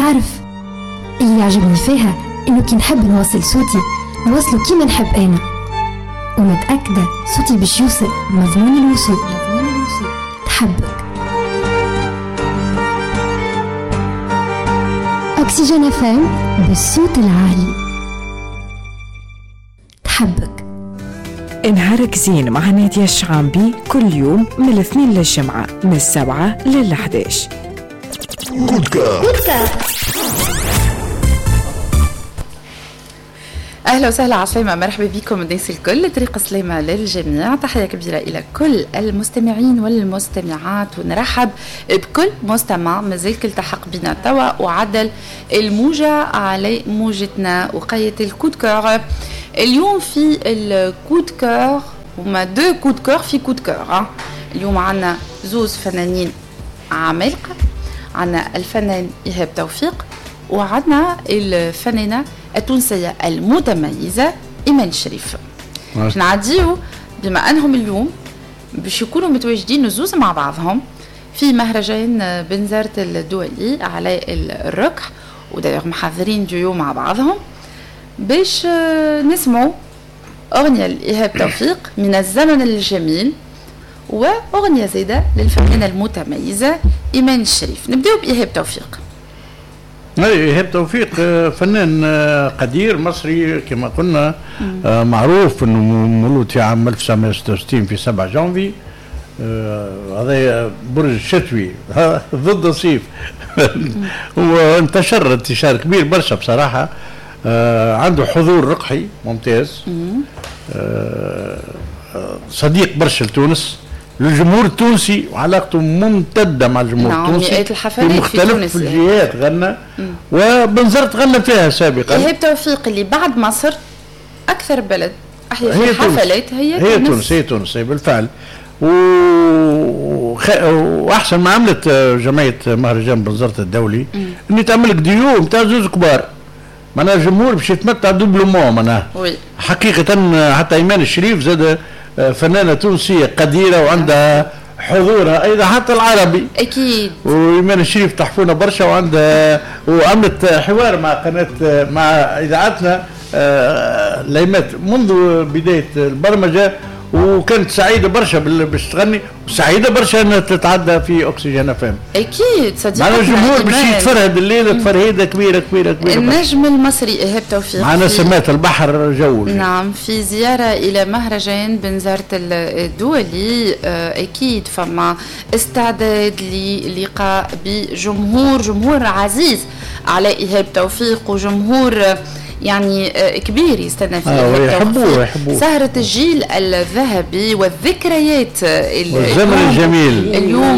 تعرف اللي يعجبني فيها إنه كي نحب نوصل صوتي نوصله كيما نحب أنا، ومتأكدة صوتي باش يوصل مضمون الوصول. تحبك أكسجين FM بالصوت العالي. تحبك. نهارك زين مع نادية الشعامبي كل يوم من الاثنين للجمعة من 7 لل11. أهلا وسهلا، عسلامة، مرحبا بكم الناس الكل، طريق سلامة للجميع. تحية كبيرة إلى كل المستمعين والمستمعات، ونرحب بكل مستمع مازال التحق بنا توا وعدل الموجة على موجتنا وقية ال coup de cœur. اليوم في ال coup de cœur هما deux coups de cœur في coup de cœur. اليوم عندنا زوز فنانين عمالقة، عندنا الفنان إيهاب توفيق وعندنا الفنانة التونسية المتميزة إيمان الشريف. باش نعديو بما أنهم اليوم باش يكونوا متواجدين زوز مع بعضهم في مهرجان بنزرت الدولي على الركح، ودايوغ محضرين ديو مع بعضهم باش نسمعوا أغنية لإيهاب توفيق من الزمن الجميل وأغنية زايدة للفنانة المتميزة إيمان الشريف. نبدأ بإيهاب توفيق. إيهاب توفيق فنان قدير مصري كما قلنا، معروف انه مولود في عام 1966 في 7 جانفي. هذا برج شتوي ضد الصيف وانتشر انتشار كبير برشا بصراحة. عنده حضور رقحي ممتاز، صديق برشا لتونس، للجمهور التونسي، وعلاقته ممتدة مع الجمهور التونسي. مئات الحفلات في مختلف الجهات غنى، وبنزرت غنى فيها سابقا. إيهاب توفيق اللي بعد مصر أكثر بلد أحيا في حفلات هي تونس. هي تونس بالفعل. وأحسن ما عملت جمعية مهرجان بنزرت الدولي إن تعمل ديو نتاع زوز كبار، معناها الجمهور باش يتمتع doublement معناها. حقيقة حتى إيمان الشريف زاد فنانة تونسية قديرة وعندها حضورها أيضا حتى العربي أكيد. وإيمان الشريف تحفونا برشا، وعندها وعملت حوار مع قناة مع إذاعتنا ليمات منذ بداية البرمجة، وكانت سعيدة برشا باش تغني، وسعيدة برشا أنها تتعدى في أكسجين FM. أكيد صديقتنا معنا الجمهور باش يتفرهد الليلة تفرهيدة كبيرة كبيرة كبيرة. النجم المصري إيهاب توفيق معنا سمات البحر جول. نعم، في زيارة إلى مهرجان بنزرت الدولي، أكيد فما استعداد للقاء بجمهور، جمهور عزيز على إيهاب توفيق، وجمهور يعني كبير يستنى فيه. يحبوه. سهرة الجيل الذهبي والذكريات والزمن الجميل. اليوم